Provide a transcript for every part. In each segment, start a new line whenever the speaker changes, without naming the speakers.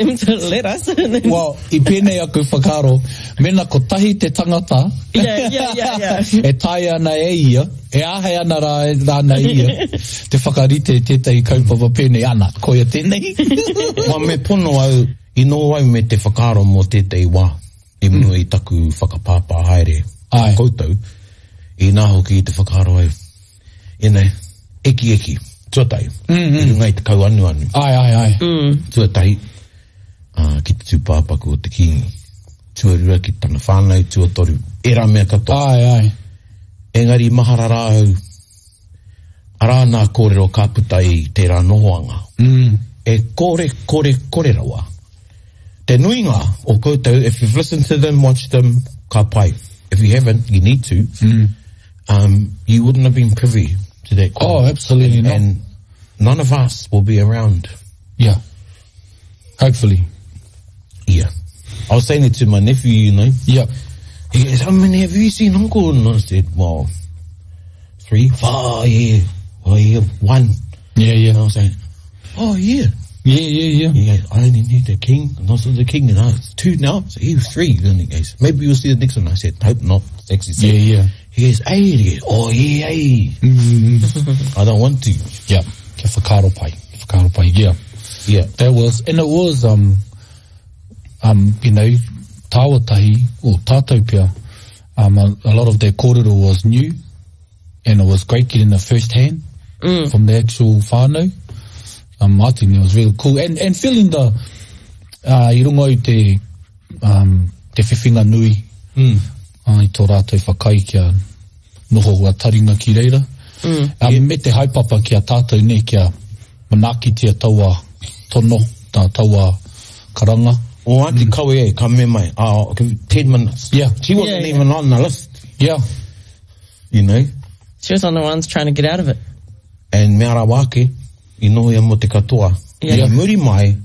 Them to let us. And then...
Well, i pēnei aku whakaaro, mena kotahi te tangata
yeah, yeah, yeah, yeah.
e taea ana e ia, e āhei ana rā, rānei ia, te whakarite i tētahi kaupapa pēnei, ana, koia tēnei.
Well, me pono au, i noho au me te whakaaro mō tētahi wā i mua i taku whakapāpā haere
Āe.
koutou, inā hoki i te whakaaro au, you know, ekieki, tuatahi, mm -hmm. i runga i te kauanuanu.
Ai, ai, ai.
Mm.
Tuatahi, uh, ki te tūpāpaku o te kīngi. Tuarua ki tana whānau, tuatoru, ērā mea katoa.
Ai, ai.
Engari mahara rā au, arā nā kōrero ka puta i tērā nohoanga.
Mm.
E kore, kore, kore rawa. Te nuinga o koutou, if you've listened to them, watched them, ka pai. If you haven't, you need to.
Mm.
Um, you wouldn't have been privy to that.
Oh, absolutely
and,
not.
And none of us will be around.
Yeah. Hopefully.
Yeah. I was saying it to my nephew, you know.
Yeah.
He goes, how many have you seen, uncle? And I said, well, three, four, yeah. Oh, yeah, one.
Yeah, yeah.
And I was saying, oh, yeah.
Yeah, yeah, yeah.
He goes, I only need the king, and also the king, and I, it's two now, so he was three. Then he goes, maybe you'll see the next one. I said, hope not. It's actually
Yeah, yeah.
He goes, hey, he goes, oh, yeah, hey.
Mm-hmm.
I don't want to.
Yeah. Kia whakaaro pai. Whakaaro pai, yeah.
Yeah.
That was, and it was, um, um, you know, tāua tahi, or tātou pea, um, a, a lot of that kōrero was new, and it was great getting the first hand mm. from the actual whānau. Um, I think it was really cool. And, and feeling the, uh, i runga i te, um, te whiwhinga nui,
mm.
uh, i tō rātou whakai kia noho ua taringa ki reira.
Mm.
Um, yeah. Me te haepapa ki a tātou nei, kia manaakitia taua tono, tā taua karanga.
O Auntie mm. Kawe e, ka me mai, oh, 10 minutes.
Yeah.
She wasn't
Yeah, yeah.
even on the list,
Yeah.
you know.
She was on the ones trying to get out of it.
And mea rawa ake, i noho ia mo te katoa.
Yeah.
I muri mai,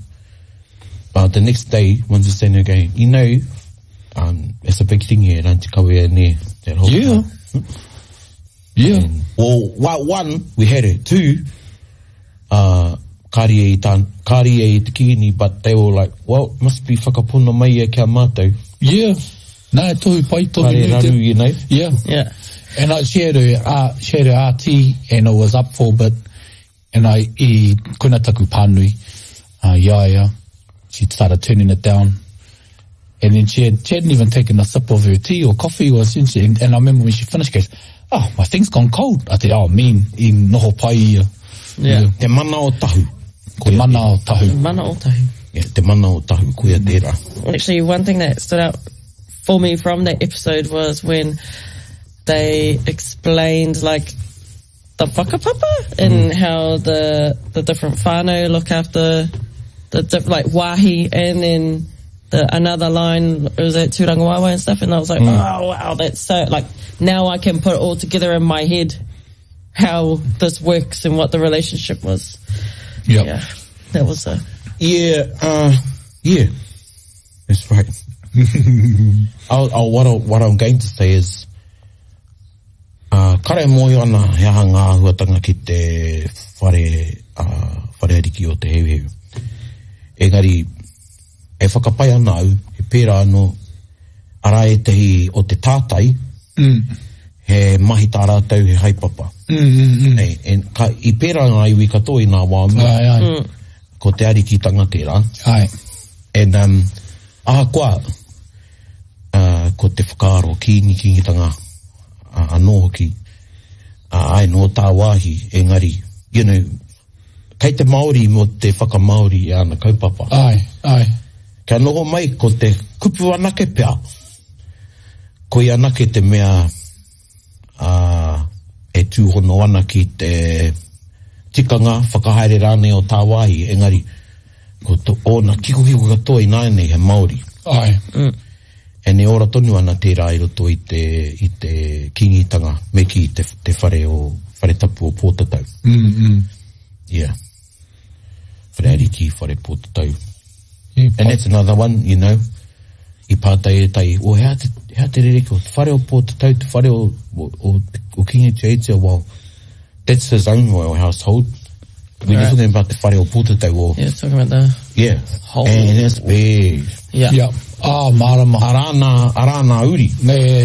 uh, the next day, one's saying again, you know, um, it's a big thing here at Auntie Kawe ne, that whole
Yeah.
time.
Yeah.
And, well, one, we had it. Two, uh, kāri e i tā, kāri e i te kīngi, but they were like, well, must be whakapono mai ia kia mātou.
Yeah. Nā, e tohu pai, tohu
Kāre
nui
raru,
te-
you know.
Yeah.
Yeah.
And I, she had her, uh, she had her RT and it was up for a bit. And I, i koina taku pānui, uh, i a ia. She started turning it down. And then she, had, she hadn't even taken a sip of her tea or coffee or something. And, and I remember when she finished, she goes, oh, my thing's gone cold. I said, oh, mean, i noho pai ia.
Yeah.
Te mana o tahu.
Te mana o tahu.
Mana o tahu.
Yeah, te mana o tahu, koia tērā.
Actually, one thing that stood out for me from that episode was when they explained like the whakapapa and how the the different whānau look after the diff- like wahi and then the another line it was at Tūrangawaewae and stuff and I was like, oh wow, that's so like now I can put it all together in my head how this works and what the relationship was.
Yep.
Yeah. That was a
Yeah, uh, yeah. That's right. I'll, I'll, what, I, what I'm going to say is, uh, kare mōhio ana he aha ngā āhuatanga ki te whare, uh, whare ariki o te Heuheu. Engari, e whakapai ana au, he pērā anō, arā ētahi o te tātai,
Mm.
he mahi tā rātou, he haepapa.
Mm, mm, mm.
E, en, ka, i pērā ngā iwi katoa i ngā wā mua,
Ai, ai.
ko te arikitanga tērā.
Ai.
And um, ahakoa, uh, ko te whakaaro kīngi kīngitanga uh, anō hoki, uh, ai nō tāwāhi, engari, you know, kei te Māori mō te whakamāori i ana kaupapa.
Ai, ai.
Kia noho mai ko te kupu anake pea, koia anake te mea uh, e tūhono ana ki te tikanga whakahaere rānei o tāwāhi, engari, ko to, ōna kikokiko katoa i nāianei he Māori.
Ai.
And e ora tonu ana tērā i roto i te, i te kīngitanga, me ki te, te whare o, whare tapu o Pōtatau.
Mm, mm.
Yeah. Whare ariki, whare Pōtatau.
Yeah,
And that's another one, you know, i pātai e tai, o hea te, hea te rereke o te whare o Pōtatau, te whare o, o, o, o Kingi Tuheitia, well, that's his own royal household. We're right. talking about the whare o Pōtatau or...
Yeah, talking about the...
Yeah.
Whole.
And it's big.
Yeah.
Yeah. Ah, marama.
Arā nā, arā nā uri.
Ne.